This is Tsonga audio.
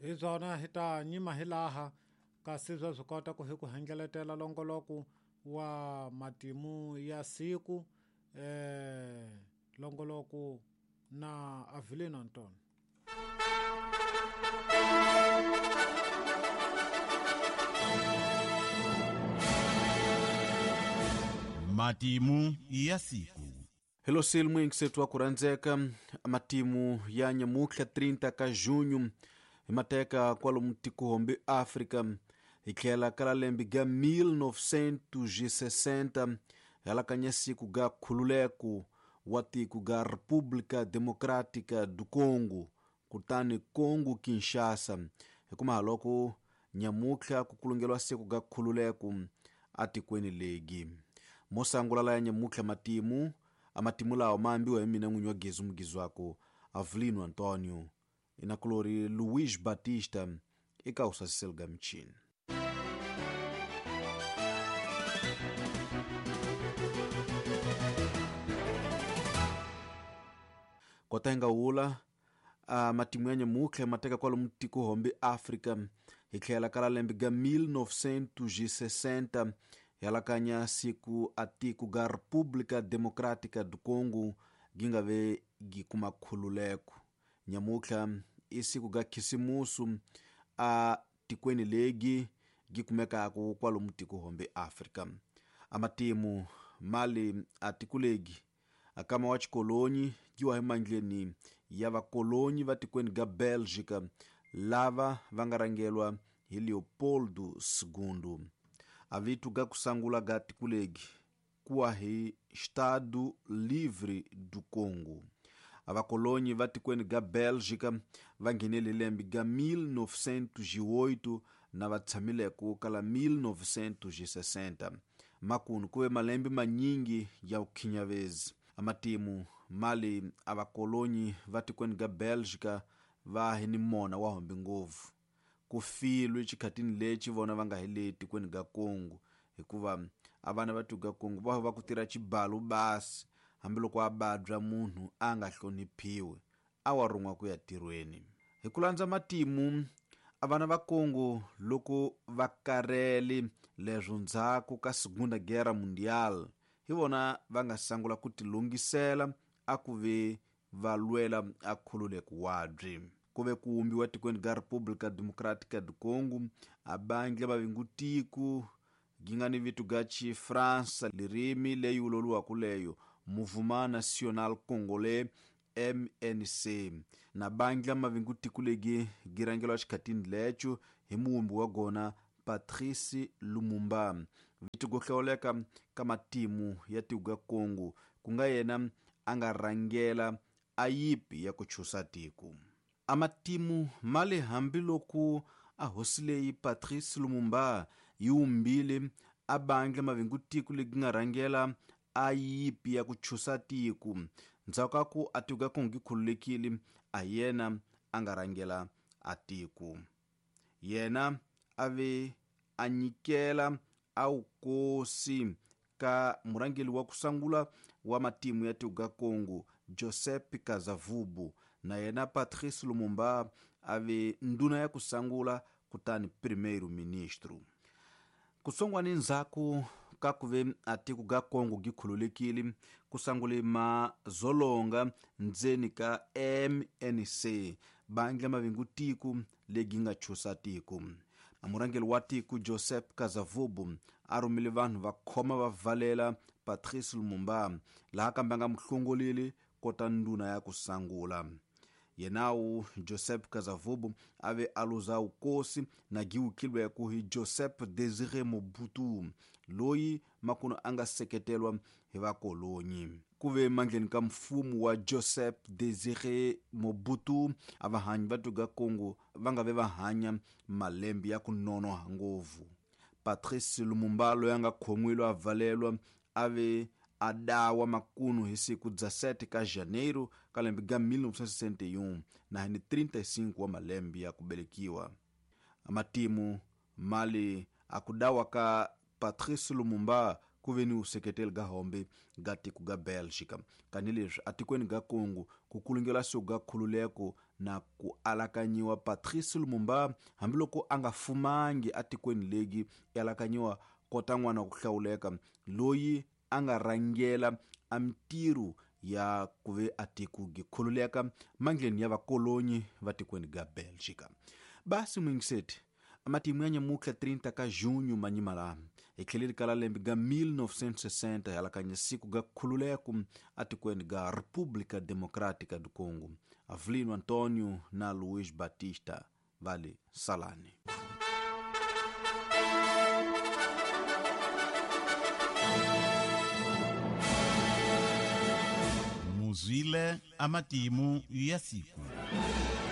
Hi byona hi ta nyima hi laha kasi bya swi kota ku hi ku hengeletela longoloko wa matimu ya siku longoloko na Avelino Antonio. Matimu ya siku. Hello silmu ingisethu wa kurhandzeka matimu ya nyamutlha 30 ka junho hi mateka kwalomu tikuhombe Afrika hi tlhela ka lembe ga 1960 halakanya siku ga khululeko wa tiko ga República Democrática do Congo kutani Congo Kinshasa hikuma haloko nyamutlha ku kulungelwa siku ga khululeko atikweni legi mosangula la ya nyamutlha matimu amatimu lawo maambiwa hi mina n'winyi wa Gezu Mugizwako Avelino Antonio inakulori Luiz Batista eka usasiselo ga michini. Kota hinga wula matimu ya nyamutlha mateka kwalomu tiko hombe Afrika hi tlhela ka lembe ga 1960 halakanya siku atiko ga República Democrática do Congo gingave gikuma khululeko. Nyamutlha i siku ga khisimusu a tikweni legi gikumekaka kwalomu tiko hombe Afrika. Amatimu mali a tiko legi akama wa chikolonyi giwa hi mandleni ya vakolonyi va tikweni ga Belgica lava va nga rangelwa hi Leopoldo II. Avitu ga kusangula ga tikulegi kuwa hi Estado Livre do Congo. Avakolonyi va tikweni ga Belgica va nghenele lembe ga 1908 na va tshamileko kala 1960. Makunu kuve malembe manyingi ya ukhinyavezi. Amatimu mali avakolonyi va tikweni ga Belgica va hi ni mona wa hombe ngopfu. Ku filwe xikhatini lexi vona va nga hi le tikweni ga Congo hikuva a vana va tiko ga Congo va va ku tirha xibalo basi hambiloko a badya munhu a nga hloniphiwi a wa rhun'wa ku ya tirhweni. Hi ku landza matimu a vana va Congo loko va karele leswo ndzhaku ka Segunda Guerra Mundial hi vona va nga sangula ku tilungisela a ku ve va lwela a khululeko wabyi. Ku ve ku wumbiwa tikweni ga República Democrática do Congo a bandla va vingu tiko gi nga ni vito ga Xifransa lirimi leyi wuloliwaka leyo Mouvement National Congolais MNC na bandla mavingu tiko legi gi rhangelwa xikhatini lecho hi muwumbi wa gona Patrice Lumumba. Vito go hlawuleka ka matimu ya tiko ga Congo ku nga yena a nga rhangela a yipi ya ku chusa tiko. Amatimu mali hambiloko a hosi leyi Patrice Lumumba yi wumbile a bandla mavingu tiko legi nga rhangela a yipi ya ku chusa tiko ndzhaku ka ku a tiko ga Congo gi khululekile a yena a nga rhangela a tiko. Yena a ve a nyikela a wukosi ka murhangeri wa kusangula wa matimu ya tiko ga Congo Joseph Kasavubu na yena Patrice Lumumba a ve ndhuna ya kusangula kutani primeiro ministro. Kusongwani ndzhaku ka ku ve a tiko ga Congo gi khululekile ku sangule mazolonga ndzeni ka MNC bandla mavingu tiko legi nga chusa tiko. Murhangeri wa tiko Joseph Kasavubu a rhumile vanhu va khoma va valela Patrice Lumumba laha kambe a nga muhlongoleli kota ndhuna ya kusangula. Yenawu Joseph Kasavubu a ve a luza wukosi na giwukilweko hi Joseph Desire Mobutu loyi makuno a nga seketelwa hi vakolonyi. Ku ve mandleni ka mfumo wa Joseph Desire Mobutu a vahanyi va tiko ga Congo va nga ve va hanya malembe ya ku nonoha ngopfu. Patrice Lumumba loyi a nga khomiwile a valelwa a ve a dawa makunu hi siku 17 ka janeiro ka lembe ga 1961 na hi ni 35 wa malembe ya ku velekiwa. Matimu mali a ku dawa ka Patrice Lumumba ku ve ni useketeli ga hombe ga tiko ga Belgica. Kanileswi atikweni ga Congo ku kulungela siku ga khululeko Na ku alakanyiwa Patrice Lumumba, hambiloko a nga fumangi atikweni legi, i alakanyiwa kota n'wana wa ku hlawuleka loyi a nga rhangela a mintirho ya ku ve a tiko gi khululeka mandleni ya vakolonyi va tikweni ga Belgica. Basi muyingiseti, matimu ya nyamutlha 30 ka junho manyima laha hi tlheleli ka la lembe ga 1960, hi alakanya siku ga khululeko atikweni ga República Democrática do Congo. Avelino Antonio na Luiz Batista vale salani. Muzwile amatimu ya siku.